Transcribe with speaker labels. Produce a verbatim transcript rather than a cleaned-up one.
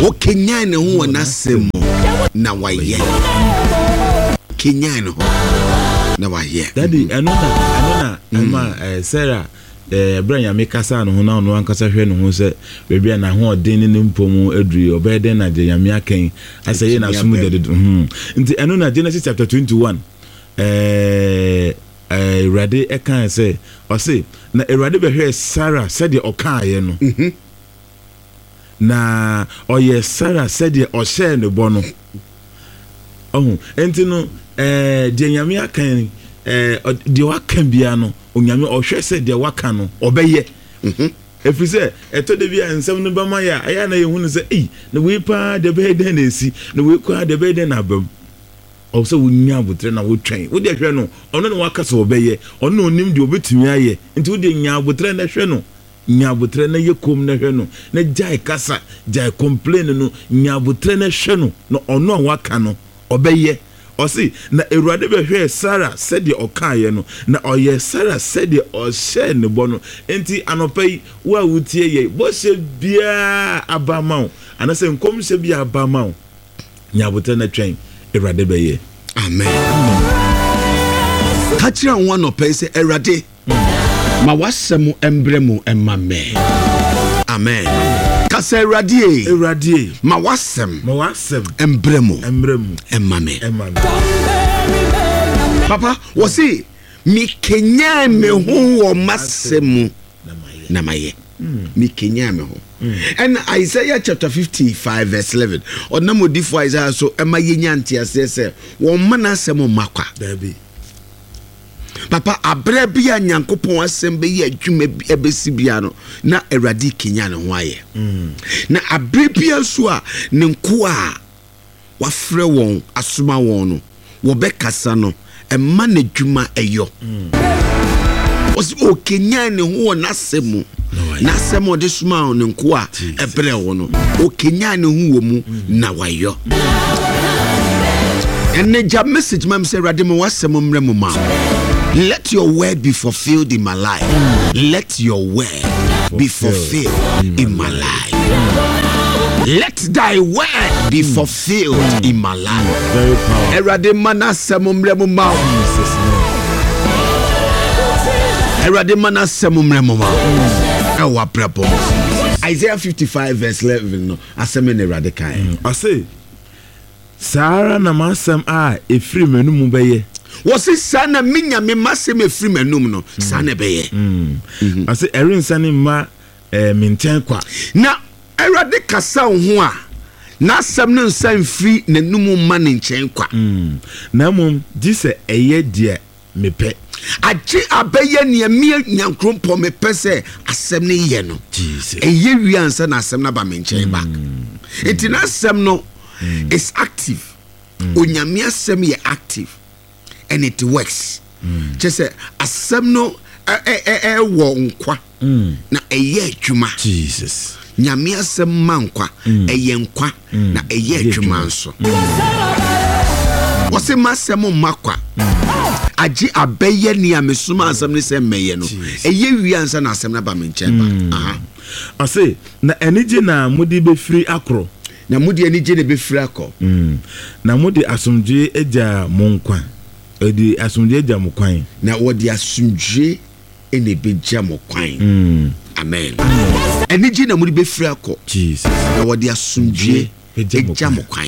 Speaker 1: Wɔkenyan ne ho wɔ n'asɛm mu na wayɛ. Kenyan ne ho na wayɛ.
Speaker 2: Daddy, ɛno na ɛno na ɛma ɛɛ Sarah ɛɛ ɛbrɛ Nyame kasa ne ho na ɔno ankasa hwɛ ne ho sɛ baabi a n'ahoɔden ne ne mpɔ mu aduru yi, ɔbɛyɛ dɛn na deɛ Nyame akɛn asɛ yɛ n'asom dɛdɛdɛ hmm Nti ɛno na Genesis chapter twenty one, ɛɛ ɛɛ Awurade ɛkan sɛ, ɔse na Awurade bɛhwɛɛ Sarah sɛdeɛ ɔkaayɛ no,
Speaker 1: Mhm.
Speaker 2: na ɔyɛ Sarah sɛdeɛ ɔhyɛɛ ne bɔ no. Ɔho nti no, ɛɛ deɛ Nyame aka yi, ɛɛ ɔ- deɛ waka bia no, Onyame ɔhwɛ sɛ deɛ waka no ɔbɛyɛ,
Speaker 1: Mhm.
Speaker 2: ɛfiri sɛ ɛtɔ da bi a nsɛm no bɛma yɛ a, ɛyɛ a na yɛhu no sɛ, ei, na wei paa deɛ, bɛyɛ dɛn na ɛsi, na wei koraa deɛ, bɛyɛ dɛn na aba mu? Ɔwɔ sɛ wonya abotrɛ na wotwɛn. Wode hwɛ no, ɔno na waka sɛ ɔbɛyɛ, ɔno na onim deɛ ɔbɛtumi ayɛ. Nti wode nya abotrɛ na hwɛ no, nya abotrɛ na yɛ kom na hwɛ no, na gyae kasa, gyae complain no. Nya abotrɛ na hwɛ no, na ɔno a waka no ɔbɛyɛ. Ɔse na Awurade bɛhwɛɛ Sara sɛdeɛ ɔkaeɛ no, na ɔyɛ Sara sɛdeɛ ɔhyɛɛ ne bɔ no. Nti anɔpa yi, wo a wotie yɛ, bɔhyɛ biara aba ma wo anaasɛ nkɔmhyɛ bi aba ma wo, nya abotrɛ na twɛn, Awurade bɛyɛ.
Speaker 1: Amen. Ka kyerɛ wo anɔpa yi sɛ, "Awurade, ma w'asɛm mbrɛ mu mma me." Amen. Ka sɛ, "Awurade e,
Speaker 2: Awurade,
Speaker 1: ma w'asɛm
Speaker 2: ma w'asɛm
Speaker 1: mbrɛ mu
Speaker 2: mmerɛ mu
Speaker 1: ɛma me."
Speaker 2: Ɛma me.
Speaker 1: Papa, wɔ se mekenyan me ho wɔ m'asɛm mu
Speaker 2: na mayɛ.
Speaker 1: Na mayɛ. Mekenyan me ho. Ɛna Isaiah chapter fifty-five verse eleven, ɔnam odifoɔ Isaiah so ɛma yɛnya nteaseɛ sɛ wɔmma n'asɛm mma kwa.
Speaker 2: Dabi.
Speaker 1: Papa, aberɛ bi a Nyankopɔn asɛm bɛyɛ adwuma bi ɛbɛsi bia no, na Awurade kenya ne ho ayɛ. Na aberɛ bia nso a ne nkoa a wafrɛ wɔn asoma wɔn no wɔbɛkasa no, ɛma n'adwuma ɛyɔ. Ɔsɛ ɔkenyan ne ho wɔ n'asɛm mu.
Speaker 2: Na wayɛ.
Speaker 1: N'asɛm a ɔde soma ne nkoa a ɛbrɛ wɔ no, ɔkenyan ne ho wɔ mu na wayɔ. Ɛnɛ gya message ma me sɛ, "Awurade, ma w'asɛm mmerɛ mu ma wo. Let your word be fulfilled in my life. Let your word be fulfilled in my life. Let thy word be fulfilled in my life."
Speaker 2: Very powerful.
Speaker 1: Awurade ma n'asɛm mmerɛ mu ma wo.
Speaker 2: Jesus name.
Speaker 1: Awurade ma n'asɛm mmerɛ mu ma wo ɛwɔ abrabɔ mu. Isaiah fifty-five verse eleven no, asɛm ne Awurade kae.
Speaker 2: Ɔse saa ara na m'asɛm a ɛfiri m'anomu bɛyɛ.
Speaker 1: Wɔse saa na me Nyame m'asɛm ɛfiri m'anum no, saa na ɛbɛyɛ.
Speaker 2: Ɔse ɛrensane mma eh, me nkyɛn kwa.
Speaker 1: Na Awurade kasa wo ho a, n'asɛm no nsa mfiri n'anum mma ne nkyɛn kwa.
Speaker 2: Mm. Na mmom gye sɛ ɛyɛ deɛ mepɛ.
Speaker 1: Agye abɛyɛ nea me Nyankoropɔn mepɛ sɛ asɛm no yɛ no.
Speaker 2: Jesus.
Speaker 1: Ɛyɛ wie ansa na asɛm no aba me nkyɛn back. Nti n'asɛm no is active. Onyame asɛm yɛ active and it works. Kyɛ sɛ asɛm no ɛ- ɛ- ɛ- ɛwɔ nkwa na ɛyɛ adwuma.
Speaker 2: Jesus.
Speaker 1: Nyame asɛm ma nkwa, ɛyɛ nkwa na ɛyɛ adwuma nso. Wɔse m'asɛm mma kwa, agye abɛyɛ nea mesoma asɛm no sɛ mmɛyɛ no. Ɛyɛ wie ansa na asɛm no aba me nkyɛn ba. Aha.
Speaker 2: Ɔse na anigye na mode bɛfiri akorɔ.
Speaker 1: Na mode anigye na ɛbɛfiri akɔ.
Speaker 2: Mm. Na mode asomdwoe agya mo nkwa, ɛde asomdwoe agya mo kwan.
Speaker 1: Na wɔde asomdwie ɛna ɛbɛgya mo kwan.
Speaker 2: Mm.
Speaker 1: Amen. Anigye na mode bɛfiri akɔ.
Speaker 2: Jesus.
Speaker 1: Na wɔde asomdwie
Speaker 2: Agya mo
Speaker 1: agya mo kwan.